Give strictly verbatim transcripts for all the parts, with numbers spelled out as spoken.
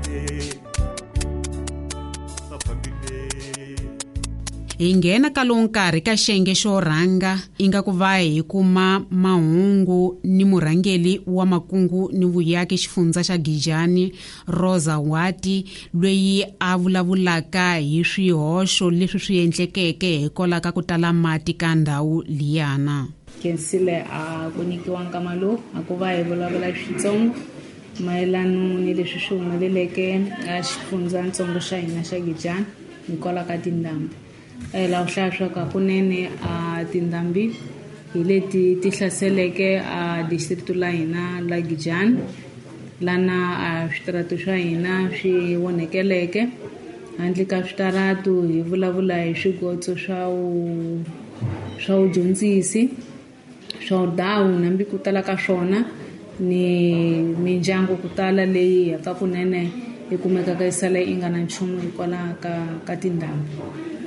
fambile va fambile. Hi nghena ka lowu nkarhi ka xiyenge xo rhanga ingaku va hi kuma mahungu ni murhangeri wa makungu ni vuyaki xifundza xa Gijani Rosa Wati loyi a vulavulaka hi swihoxo leswi swi endlekeke hikwalaho ka ku tala mati ka ndhawu liyana. Khensile a ku nyikiwa nkama lowu a ku va hi vulavula Xitsonga mayelana ni leswi swi humeleleke a xifundzatsongo xa hina xa Gijani hikwalaho ka tindhambi. Laha u hlaya swa ku hakunene a tindhambi hi leti ti hlaseleke a district la hina la Gijani lana a switaratu swa hina swi onhekeleke. Handle ka switaratu hi vulavula hi swigotso swa wu swa vudyondzisi swa vudawu nambi ku tala ka swona ni mindyangu ku tala leyi yaka kunene yi kumekaka yi sala yi nga na nchumu hikwalaho ka ka tindhambi.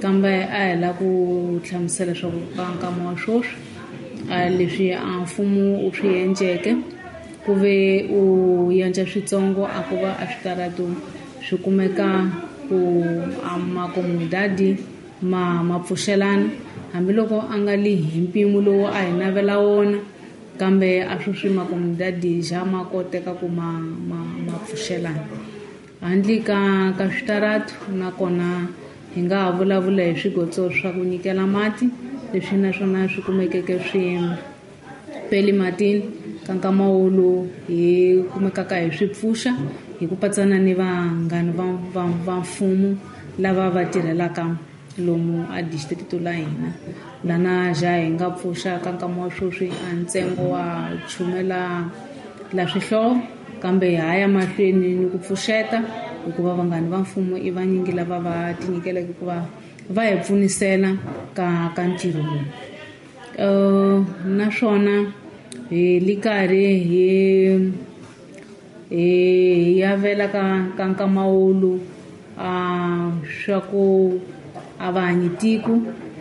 Kambe a hi lava ku hlamusela leswaku ka nkama wa sweswi a leswi a mfumo wu swi endleke ku ve u endla switsongo a ku va a switaratu swi kumeka ku a makomunidadi ma ma pfuxelana hambiloko a nga li hi mpimo lowu a hi navela wona kambe a sweswi makomunidadi ja ma koteka ku ma ma ma pfuxelana. Handle ka ka switaratu nakona hi nga ha vulavula hi swigotso swa ku nyikela mati leswi naswona swi kumekeke swi peli matini ka nkama wolowo hi kumekaka hi swi pfuxa hi ku patsana ni vanghana va va va mfumo lava va tirhelaka lomu a district la hina lana ja hi nga pfuxa ka nkama wa sweswi a ntsengo wa chumela la swihlovo kambe hi ya mahlweni ni ku pfuxeta hikuva vanghana va mfumo i vanyingi lava va tinyikeleke ku va va hi pfunisela ka ka ntirho lowu. Uh, naswona hi li karhi hi hi yavela ka ka nkama wolowu a swa ku a va hanyi tiko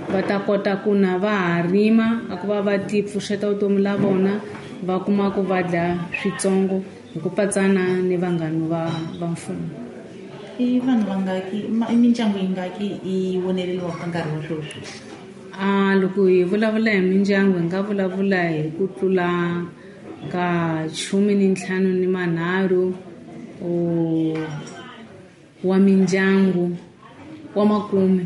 va ta kota ku na va ha rima a ku va va ti pfuxeta vutomi la vona va kuma ku va dya switsongo hi ku patsana ni vanghana va va mfumo. I vanhu vangaki i mindyangu yingaki yi voneleriwaka ka nkarhi wa sweswi? A loko hi vulavula hi mindyangu hi nga vulavula hi ku tlula ka khume ni ntlhanu ni manharhu wa mindyangu wa makume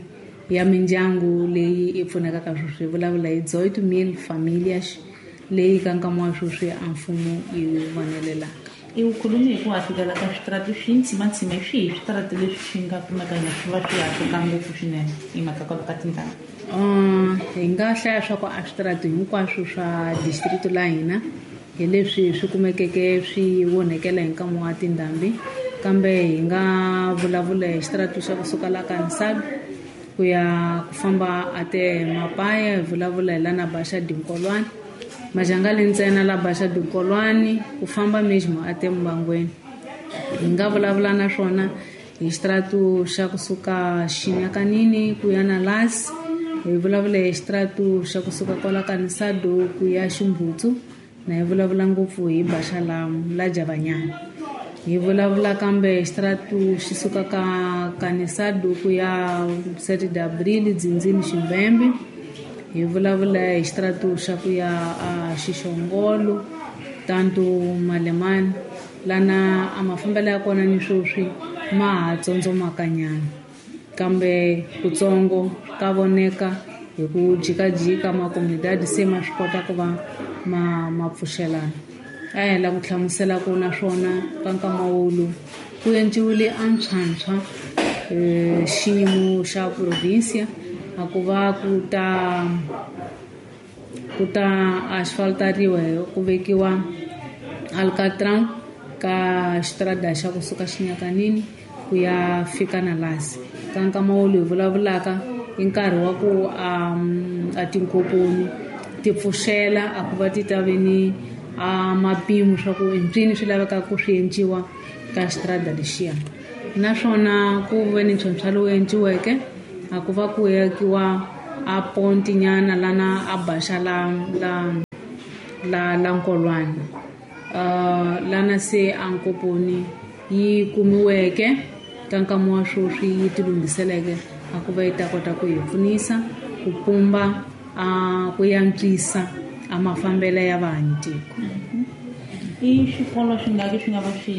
ya mindyangu leyi yi pfunekaka sweswi. Hi vulavula hi dezoito mil famílias leyi ka nkama wa sweswi a mfumo yi vonelelaka. I wu khulumi hi ku hahlukela ka switaratu swi ntsimantsima hi swihi switaratu leswi swi nga kumeka swi va swi hahluka ngopfu swinene hi mhaka kwalomu ka tindhambi? Hi nga hlaya swa ku a switaratu hinkwaswo swa district la hina hi leswi swi kumekeke swi onhekela hi nkama wa tindhambi kambe hi nga vulavula hi xitaratu xa kusuka la ka Nsabi ku ya ku famba a te Mapaya hi vulavula hi lana Baxa Dinkolwana Majangale ntsena la Baxa Dinkolwani ku famba mesmo a te Mbangweni. Hi nga vulavula naswona hi xitaratu xa kusuka Xinyakanini ku ya na Lasi hi vulavula hi xitaratu xa kusuka kwala ka Nsado ku ya Ximbutsu na hi vulavula ngopfu hi Baxa la la Javanyana. Hi vulavula kambe xitaratu xi suka ka Kanisado ku ya sete de Abril Dzindzini Ximbembe. Hi vulavula hi xitaratu xa ku ya a Xixongolo tanto Malemani lana a mafambelo ya kona ni sweswi ma ha tsondzomakanyana kambe kutsongo ka voneka hi ku jikajika makomunidadi se ma swi kota ku va ma ma pfuxelana. A hi lava ku hlamusela ku naswona ka nkama wolowu ku endliwile a ntshwantshwa xiyimo xa provinsia a ku va ku ta ku ta asfaltariwa ku vekiwa alcatran ka xitarada xa kusuka Xinyakanini ku ya fika na Lasi. Ka nkama wolowu hi vulavulaka i nkarhi wa ku a tinkoponi ti pfuxela a ku va ti ta ve ni a mapimo swa ku ntswini swi lavekaka ku swi endliwa ka xitarada lexiya. Naswona ku ve ni ntlhontlho lowu endliweke a ku va ku akiwa a ponti nyana lana a Baxa la la la la Nkolwana uh, lana se a Nkoponi yi kumiweke ka nkama wa sweswi yi tilunghiseleke a ku va yi ta kota ku hi pfunisa ku pumba a ku yantswisa a mafambelo ya vaanyitiko. I swikolo swi nga swi nga va swi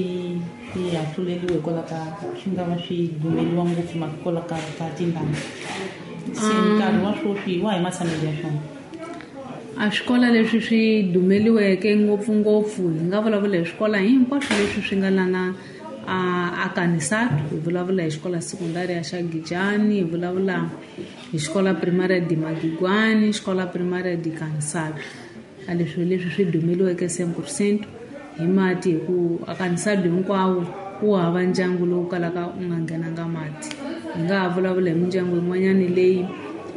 swi hahluleliwe hikwalaho ka swi nga va swi dumeliwa ngopfu hikwalaho ka ka tindhambi se nkarhi wa sweswi wa hi matshamelo ya swona. A swikolo leswi swi dumeliweke ngopfungopfu hi nga vulavula hi swikolo hinkwaswo leswi swi nga lana a a Kanisatu, hi vulavula hi xikolo sekondari ya xa Gijani, hi vulavula hi xikolo primary di Magigwani, xikolo primary di Kanisatu. A leswi leswi swi dumeliweke cent percent hi mati hi ku a Kanisatu hinkwawo wu hava ndyangu lowu kalaka u nga nghenanga mati. Hi nga ha vulavula hi mindyangu yin'wanyani leyi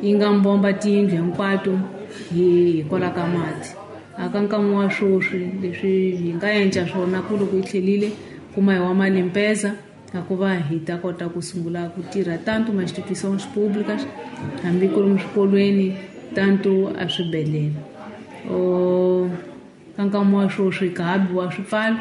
yi nga mbomba tiyindlu hinkwato hi hikwalaho ka mati. A ka nkama wa sweswi leswi hi nga endla swona ku loko yi tlhelile kuma hi wa malimpeza a ku va hi ta kota ku sungula ku tirha tanto ma instituições públicas hambi ku ri swikolweni tanto a swibedhlele. O ka nkama wa sweswi ka ha biwa swipfalo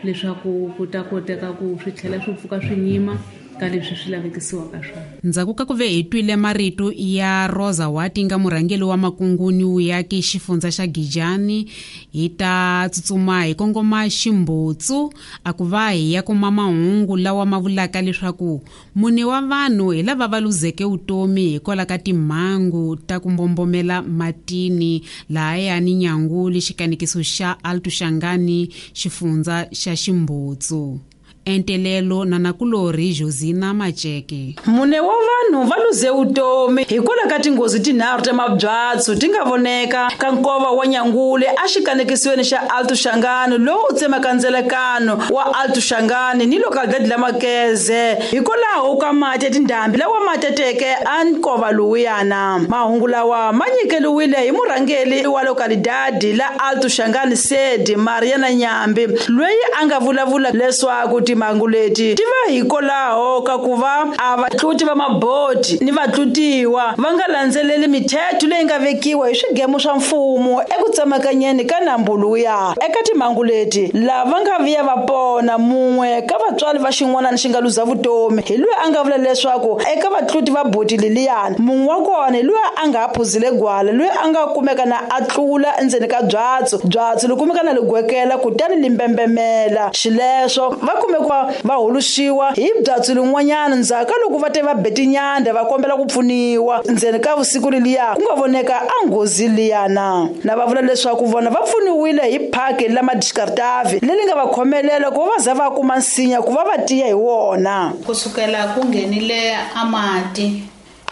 leswaku ku ta koteka ku swi tlhela swi pfuka swi nyima ka leswi swi lavekisiwaka swona. Ndzhaku ka ku ve hi twile marito ya Rosa Wati nga murhangeri wa makunguni wuyaki xifundza xa Gijani, hi ta tsutsuma hi kongoma Ximbutsu a ku va hi ya kuma mahungu lawa ma vulaka leswaku mune wa vanhu hi lava va luzeke vutomi hikwalaho ka timhangu ta ku mbombomela matini lahayani Nyanguli xikanekiso xa Alto Shangani xifundza xa Ximbutsu. Entelelo na nakulori Josina Macheke. Mune wa vanhu va luze vutomi hikwalaho ka tinghozi tinharhu ta mabyatso ti nga voneka ka nkova wa Nyangule a xikanekisiweni xa Alto Shangani lowu tsemaka ndzelekano wa Alto Shangani ni localidade la Makeze hikwalaho ka mati ya tindhambi lawa ma teteke a nkova lowuyana. Mahungu lawa ma nyikeliwile hi murhangeri wa localidade la Alto Shangani Sedi Mariana Nyambi loyi a nga vulavula leswaku timhangu leti ti va hikwalaho ka ku va a vatluti va maboti ni vatlutiwa va nga landzeleli mithetho leyi nga vekiwa hi swigemu swa mfumo eku tsemakanyeni ka nambu luya. Eka timhangu leti lava nga vuya va pona mun'we ka vatswari va xin'wanani xi nga luza vutomi hi loyi a nga vula leswaku eka vatluti va boti leliyani mun'we wa kona hi loyi a nga ha phuzile gwala loyi a nga kumeka na a tlula endzeni ka byatso byatso li kumeka na ligwekela kutani limbembemela xileswo va kume ku va huluxiwa hi byatso lin'wanyana ndzhaku ka loko va te va be tinyanda va kombela ku pfuniwa ndzeni ka vusiku leliya ku nga voneka a nghozi liyana. Na va vula leswaku vona va pfuniwile hi phaki la Madiskartavi leri nga va khomelela ku va va za va kuma nsinya ku va va tiya hi wona. Kusukela ku nghenile amati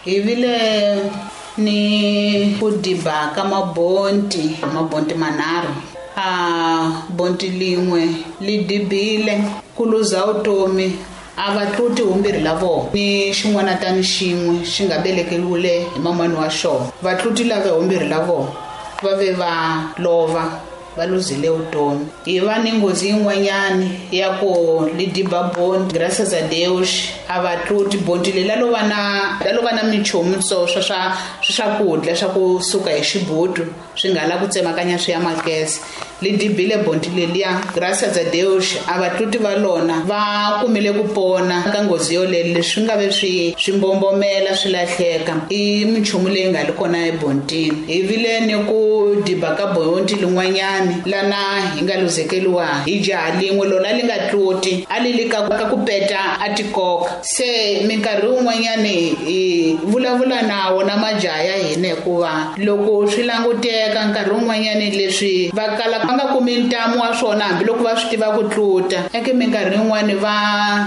hi vile ni ku diba ka mabonti mabonti manharhu a bonti lin'we li dibile ku luza vutomi a vatluti humbirhi la vona ni xin'wana tani xin'we xi nga velekeriwile hi mamani wa xona. Vatluti lava humbirhi la vona va ve va lova va luzile vutomi. Hi va ni nghozi yin'wanyani ya ku li diba bonti graças a Deus a vatluti bonti leri la lova na la lova na minchumu swo swa swa swakudya swa kusuka hi xibutu swi nga la ku tsemakanya swi ya Makese li dibile bonti leliya graças a Deus a vatluti va lona va kumile ku pona ka nghozi yoleyo leswi nga ve swi swi mbombomela swi lahleka i minchumu leyi nga li kona ebontini. Hi vile ni ku diba ka bonti lin'wanyani lana hi nga luzekeliwa hi jaha lin'we lona li nga tluti a li li ka ka ku peta a tikoka se minkarhi wun'wanyani hi vulavula na wona majaha ya hina hikuva loko swi languteka nkarhi wun'wanyani leswi va kala va nga kumi ntamu wa swona hambiloko va swi tiva ku tluta eke minkarhi yin'wani va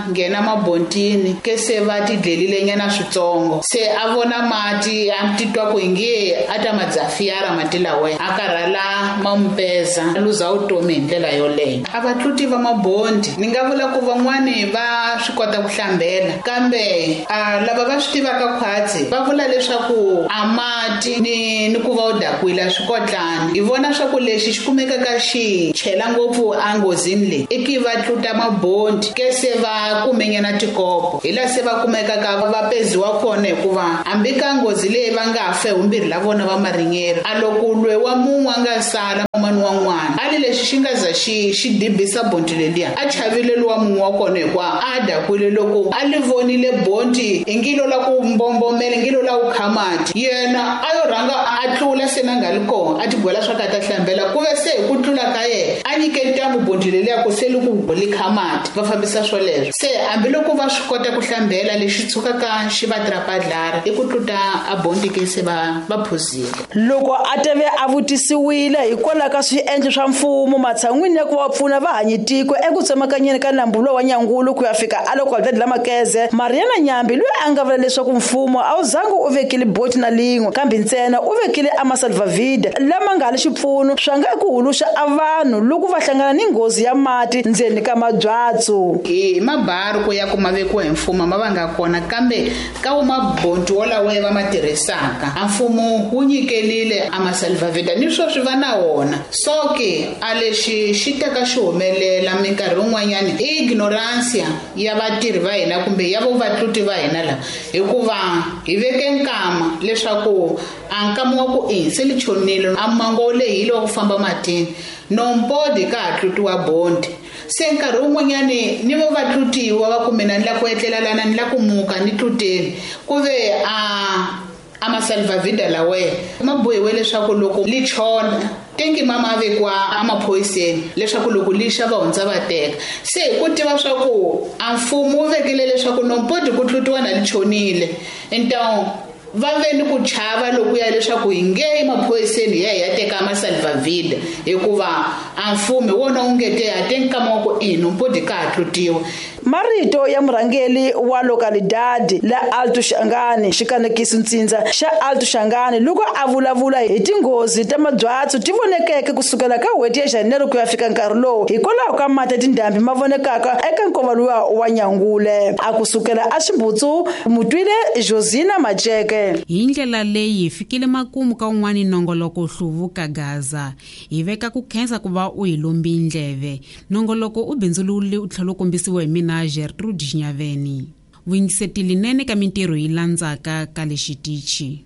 nghena mabontini ke se va tidlelile nyana switsongo se a vona mati a titwa ku inge a ta madzafiyara mati lawa a karhala ma mupeza luza vutomi hi ndlela yoleyo. A vatluti va mabondi ni nga vula ku van'wani va va swi kota ku hlambela kambe a lava va swi tivaka khwatsi va vula leswaku a mati ni ni ku va u dakwile swi kotlani. Hi vona swa ku lexi xi kumekaka xi chela ngopfu enghozini leyi i ki va tluta mabondi ke se va kumenyana tikopo hi laha se va kumekaka va peziwa kona hikuva hambi ka nghozi leyi va nga fe humbirhi la vona va marinyeri a loko lwe wa mun'we a nga sala mani wa n'wana a li lexi xi nga za xi xi dibisa bondi leliya a chavile luwa mun'we wa kona hikuva a dakwile loko a li vonile bondi i ngilo la ku mbombomela ngilo la ku kha mati yena a yo rhanga a tlula se na nga li kona a tigwela swa ka ta hlambela ku ve se hi ku tlula ka yena a nyike ntambu bondi leliya ku se li ku li kha mati va fambisa swoleswo. Se hambiloko va swi kota ku hlambela lexi tshukaka xi va trapadlara i ku tluta a bondi ke se va va phuzile. Loko a teve a vutisiwile hikwalaho ka swiendlo swa mfumo matshan'wini ya ku va pfuna vahanyi tiko eku tsemakanyeni ka nambu lowa Nyangulu ku ya fika a loko la Makeze, Mariana Nyambi loyi a nga vula leswaku mfumo a wu zangi u vekile boti na lin'we kambe ntsena u vekile amasalvavida lama nga li xipfuno swa nga ku huluxa a vanhu loko va hlangana ni nghozi ya mati ndzeni ka mabyatso. Hi mabaru ku ya kuma vekiwa hi mfumo ma va nga kona kambe ka wu mabonti wolawo va ma tirhisaka a mfumo wu nyikelile amasalvavida ni sweswi va na wona. So ke a lexi xi teka xi humelela minkarhi yin'wanyani i ignorance ya vatirhi va hina kumbe ya vo vatluti va hina lava hikuva hi veke nkama leswaku a nkama wa ku i se li chonile a mango wo lehile wa ku famba matini nombodi ka ha tlutiwa bondi. Se nkarhi wun'wanyani ni vo vatlutiwa va ku mina ni la ku etlela lana ni la ku muka ni tluteni ku ve a a masalvavida lawe ma bohiwe leswaku loko li chona tengi mama vekiwa emaphoyiseni leswaku loko li xa va hundza va teka. Se hi ku tiva swa ku a mfumo wu vekile leswaku nombodi ku tlutiwa na li chonile então va ve ni ku chava loku ya leswaku hi nge emaphoyiseni hi ya hi ya teka masalvavida hikuva a mfumo hi wona wu nge te ha te nkama wa ku i nombodi ka ha tlutiwa. Marito ya murhangeri wa localidade la Alto Xangani xikanekisi ntsindza xa Alto Xangani loko a vulavula hi tinghozi ta mabyatso ti vonekeke kusukela ka n'hweti ya Janeiro ku ya fika nkarhi lowu hikwalaho ka mati ya tindhambi ma vonekaka eka nkova luwa wa Nyangule. A kusukela a Ximbutsu mutwile Josina Majeke. Hi ndlela leyi hi fikile makumu ka un'wani nongoloko Hluvuka Gaza. Hi veka ku khensa ku va u hi lombi ndleve. Nongoloko u bindzulule u tlhela u kombisiwa hi mina Gertrude Xinyaveni. Vuyingiseti linene ka mintirho yi landzaka ka le xitichi.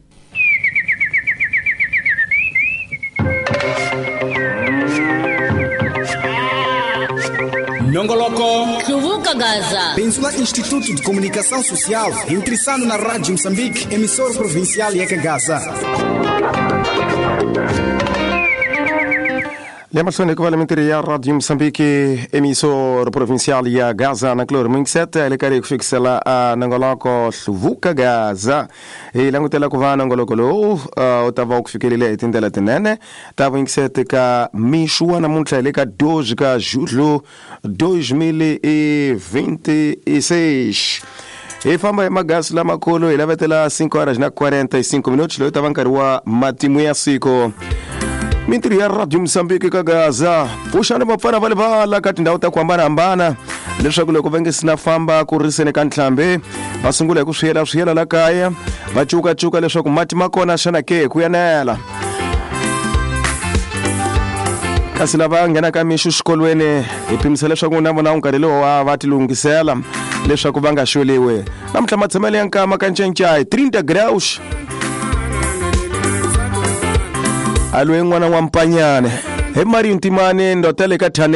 Nongoloko Hluvuka Gaza. Bindzu la Instituto de Comunicação Social, intressando na Rádio Moçambique, emissora provincial ya Gaza. Le mahlweni ku va le mintirho ya Radio Moçambique, emissora provincial ya Gaza na Cloro Minxet le karhi ku fikisela a nongoloko Hluvuka Gaza. Hi langutela ku va nongoloko lowu u ta va u ku fikelele hi tindlela tinene ta vuyingiseti ka mixo wa namuntlha hi le ka doze ka julho dois mil e vinte e seis. Hi famba hi magasi lamakulu hi lavetela cinco horas na quarenta e cinco minutos loyi ta va nkarhi wa matimu ya siku. Mintirho ya Radio Moçambique ka Gaza pfuxani vapfana va le vala ka tindhawu ta ku hambanahambana leswaku loko va nge sina famba ku riseni ka ntlhambi va sungula hi ku swiyela swiyela la kaya va cukacuka leswaku mati ma kona xana ke ku yanela. Kasi lava nghenaka mixo xikolweni hi pimisa leswaku na vona nkarhi lowu wa va tilunghisela leswaku va nga xoliwi. Namuntlha matshamelo ya nkama ka Ncencai trinta graus. Alwe n'wana wa Mpanyane hi Mario Ntimane ndotele ka Thane.